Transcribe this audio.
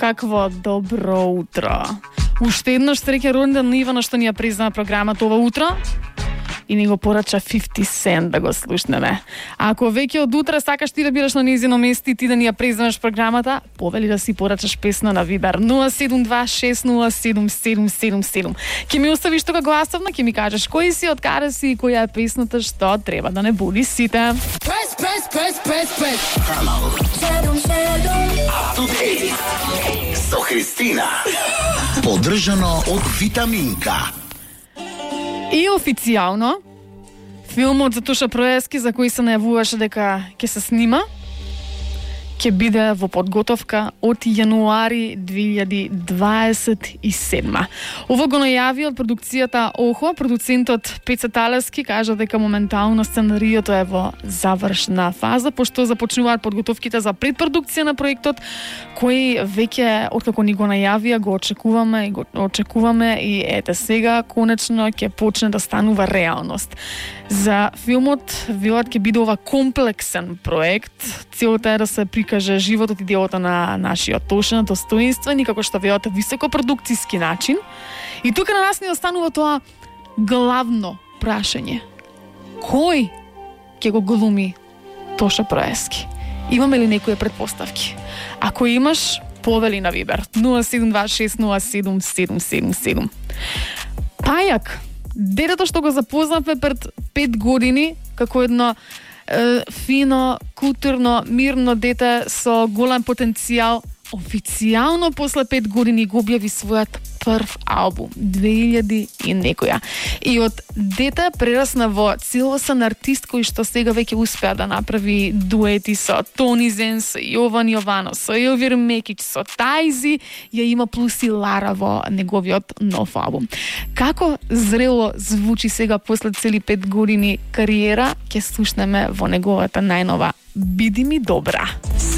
Такво добро утро. Уште еднаш среќен роденден на Ивана што ни ја признава програмата ова утро и ни го порача 50 Cent да го слушнеме. Ако веќе од утре сакаш ти да бидеш на нејзино место и ти да ни ја признаваш програмата, повели да си порачаш песна на Вибер 072607777. Ќе ми оставиш тука гласовна, ќе ми кажеш кој си, од каде си и која е песната што треба да не буди сите. Press. Со Христина. Поддржано од Витаминка. И официјално, филмот за Тоша Проески, за кој се најавуваше дека ќе се снима, ќе биде во подготовка од јануари 2027. Ово го најави од продукцијата ОХО. Продуцентот Пеца Талески кажа дека моментално сценариото е во завршна фаза, пошто започнуваат подготовките за предпродукција на проектот, кој веќе, откако ни го најавија, го очекуваме и ете сега, конечно ќе почне да станува реалност. За филмот, велат, ќе биде ова комплексен проект. Целта е да се прикаже животот и делото на нашиот Тоша на достоинствен и како што велат високопродукцијски начин. И тука на нас ни останува тоа главно прашање. Кој ќе го глуми Тоша Проески? Имаме ли некои предпоставки? Ако имаш, повели на Вибер 072607777. Пајак, детето што го запознавме пред 5 години како едно фино, културно, мирно дете со голем потенцијал, официјално после 5 години го објави својот прв албум 2000 и некоја. И од дете прерасна во целосен артист кој што сега веќе успеа да направи дуети со Тони Зен, со Јован Јованов, со Елвир Мекич, со Тајзи, ја има плюс и Лара во неговиот нов албум. Како зрело звучи сега после цели 5 години кариера, ќе слушнеме во неговата најнова Биди ми добра.